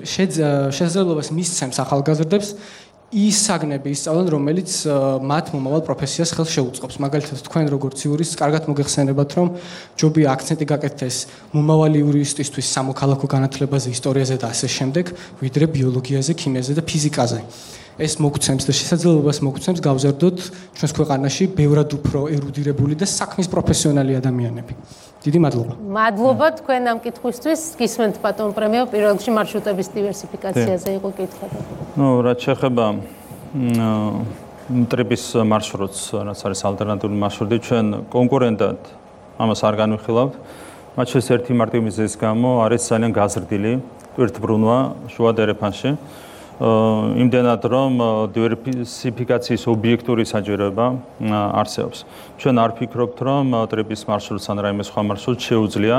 შესაძლებლობას მისცემს ახალგაზრდებს ის საგნები ისწავლონ, რომელიც მათ მომავალ პროფესიას ხელს შეუწყობს. მაგალითად, თქვენ როგორც იურისტს, კარგად მოგეხსენებათ, რომ ჯობია აქცენტი გაკეთდეს მომავალი იურისტისთვის სამოქალაქო განათლებაზე, ისტორიაზე და ასე შემდეგ, ვიდრე ბიოლოგიაზე, ქიმიაზე და ფიზიკაზე. ეს მოგცემს და შესაძლებლობას მოგცემს გავზარდოთ ჩვენს ქვეყანაში ბევრად უფრო ერუდირებული და საქმის პროფესიონალი ადამიანები. დიდი მადლობა. მადლობა თქვენ ამ კითხვისთვის. გისმენთ ბატონ პრემიო, პირველ რიგში მარშრუტების დივერსიფიკაციაზე იყო კითხვა. რაც შეეხება ტრიპის მარშრუტს, რაც არის ალტერნატიული მარშრუტი, ჩვენ კონკურენტად ამას არ განვიხილავთ. მათ შორის ერთი მარტივი მიზეზის გამო არის ძალიან გაზრდილი ტვირთბრუნვა შუა დერეფანში. იმდენად რომ დივერსიფიკაციის ობიექტური საჭიროება არსებობს. ჩვენ არ ფიქრობთ, რომ ტრიპის მარშრუტს ან რაიმე სხვა მარშრუტს შეუძლია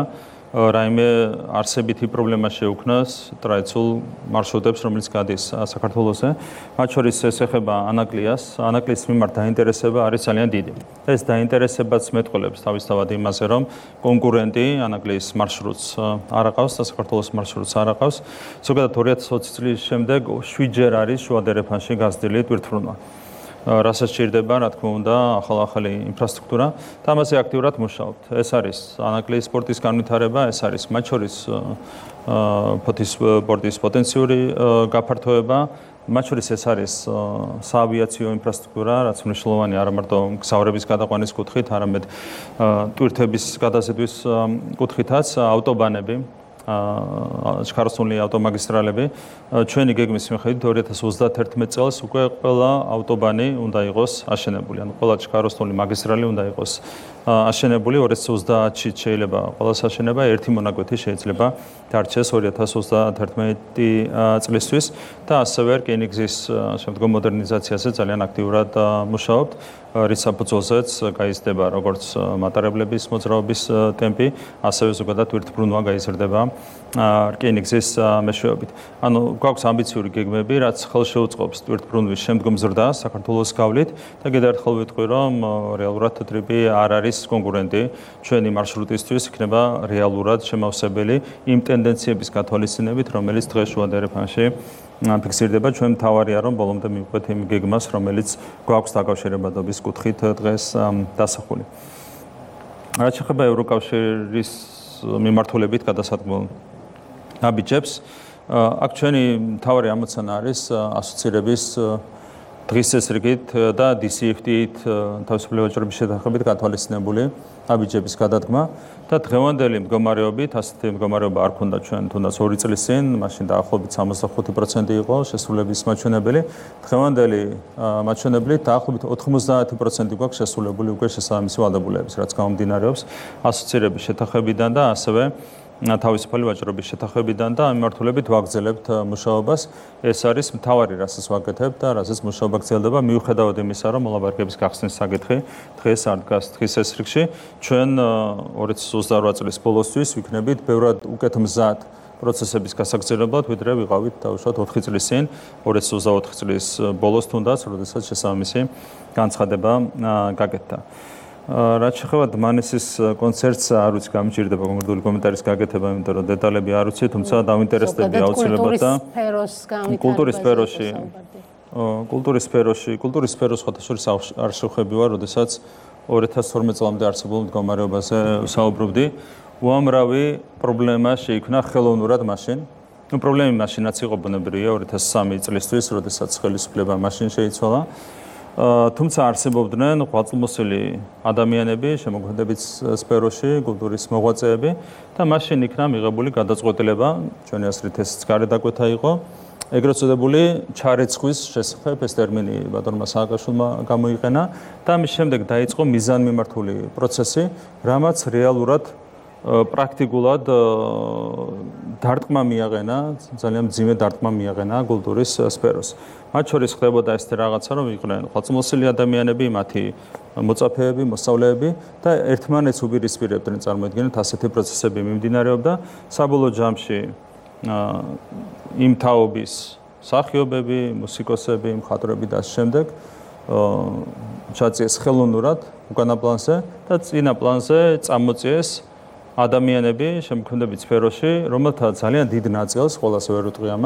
რაიმე არსებითი პრობლემა შეუქმნას ტრადიციულ მარშრუტებს, რომელიც გადის საქართველოზე. მათ შორის ეს ეხება ანაკლიას. ანაკლიის მიმართ დაინტერესება არის ძალიან დიდი. ეს დაინტერესებაც მეტყველებს თავისთავად იმაზე, რომ კონკურენტი ანაკლიის მარშრუტს არ აყავს და საქართველოს მარშრუტს არ აყავს. ზოგადად 2020 წლის შემდეგ 7-ჯერ არის შუა დერეფანში გაზრდილი ტვირთბრუნვა. რასაც სჭირდება, რა თქმა უნდა, ახალი ინფრასტრუქტურა და ამაზე აქტიურად მუშაობთ. ეს არის ანაკლიის სპორტის განვითარება, ეს არის მათ შორის ფოთის სპორტის პოტენციური გაფართოება, მათ შორის ეს არის საავიაციო ინფრასტრუქტურა, რაც მნიშვნელოვანია არა მარტო გზავრების გადაყვანის კუთხით, არამედ ტვირთების გადაზიდვის კუთხითაც, ავტობანები. შქაროსნული ავტომაგისტრალები ჩვენი გეგმის მიხედვით 2031 წელს უკვე ყველა ავტობანი უნდა იყოს აშენებული, ანუ ყველა შქაროსნული მაგისტრალი უნდა იყოს აშენებული. 2030-ში შეიძლება ყველას აშენება, ერთი მონაკვეთი შეიძლება დარჩეს 2031 წლისთვის და ასევე რკინიგზის შემდგომ მოდერნიზაციაზე ძალიან აქტიურად მუშაობთ. რის საფუძველზეც გაიზრდება როგორც მატარებლების მოძრაობის ტემპი, ასევე ზოგადად ტვირთბრუნვა გაიზრდება რკინიგზის მეშვეობით. ანუ გვაქვს ამბიციური გეგმები, რაც ხელს შეუწყობს ტვირთბრუნვის შემდგომ ზრდას საქართველოს გავლით და კიდევ ერთხელ ვიტყვი, რომ რეალურად ტრიპი არ არის კონკურენტი ჩვენი მარშრუტისთვის, იქნება რეალურად შემავსებელი იმ ტენდენციების გათვალისწინებით, რომელიც დღეს შუა დერეფანში ფიქსირდება. ჩვენ მთავარია, რომ ბოლომდე მივყვეთ იმ გეგმას, რომელიც გვაქვს დაკავშირებადობის კუთხით დღეს დასახული. რაც შეეხება ევროკავშირის მიმართულებით გადასადგმულ ნაბიჯებს, აქ ჩვენი მთავარი ამოცანა არის ასოცირების დღის წესრიგით და DCFT-ით თავისუფლი ვაჭრობის შეთანხმებით გათვალისწინებული ნაბიჯების გადადგმა და დღევანდელი მდგომარეობით, ასეთი მდგომარეობა არ ქონდა ჩვენ თუნდაც 2 წლის წინ, მაშინ დაახლოებით 65% იყო შესრულების მაჩვენებელი. დღევანდელი მაჩვენებლით დაახლოებით 90% გვაქვს შესრულებული უკვე შესაბამისი ვალდებულების, რაც გამომდინარეობს ასოცირების შეთანხმებიდან და ასევე თავისუფალი ვაჭრობის შეთანხმებიდან და ამ მიმართულებით ვაგრძელებთ მუშაობას. ეს არის მთავარი, რასაც ვაკეთებთ და რასაც მუშაობა გრძელდება, მიუხედავად იმისა, რომ მოლაპარაკების გახსნის საკითხი დღეს არ დგას დღის წესრიგში. ჩვენ 2028 წლის ბოლოსთვის ვიქნებით ბევრად უკეთ მზად პროცესების გასაგრძელებლად, ვიდრე ვიყავით დაუშვათ 4 წლის წინ, 2024 წლის ბოლოს თუნდაც, როდესაც შესაბამისი განცხადება გაკეთდა. რაც შეეხება დმანისის კონცერტს, არ ვიცი, გამიჭირდება კონკრეტული კომენტარის გაკეთება, იმიტომ რომ დეტალები არ ვიცი, თუმცა დავინტერესდები აუცილებლად და კულტურის სფეროს ხათაშორის არ შევხვები ვარ, როდესაც 2012 წლამდე არსებულ მდგომარეობაზე ვსაუბრობდი. უამრავი პრობლემა შეიქმნა ხელოვნურად მაშინ. პრობლემა მაშინაც იყო ბუნებრივია 2003 წლისთვის, როდესაც ხელისუფლება მაშინ შეიცვალა. თუმცა არსებობდნენ ღვაწლმოსილი ადამიანები შემოქმედებით სფეროში, კულტურის მოღვაწეები და მაშინ იქნა მიღებული გადაწყვეტილება, ჩვენი აზრით ეს გარედაკვეთა იყო, ეგრეთ წოდებული ჩარეცხვის შესახებ ეს ტერმინი ბატონმა სააკაშვილმა გამოიყენა და ამის შემდეგ დაიწყო მიზანმიმართული პროცესი, რამაც რეალურად პრაქტიკულად დარტყმა მიაყენა, ძალიან მძიმე დარტყმა მიაყენა კულტურის სფეროს. მათ შორის ხდებოდა ესეთი რაღაცა, რომ იყვნენ ღვაწლმოსილი ადამიანები, მათი მოწაფეები, მოსწავლეები და ერთმანეთს უპირისპირებდნენ, წარმოიდგინეთ, ასეთი პროცესები მიმდინარეობდა. საბოლოო ჯამში იმ თაობის მსახიობები, მუსიკოსები, მხატვრები და შემდეგ ჩაწიეს ხელოვნურად უკანა პლანზე და წინა პლანზე წამოწიეს ადამიანები შემოქმედებით სფეროში, რომელთა ძალიან დიდ ნაწილს, ყველას ვერ ვიტყვი ამას,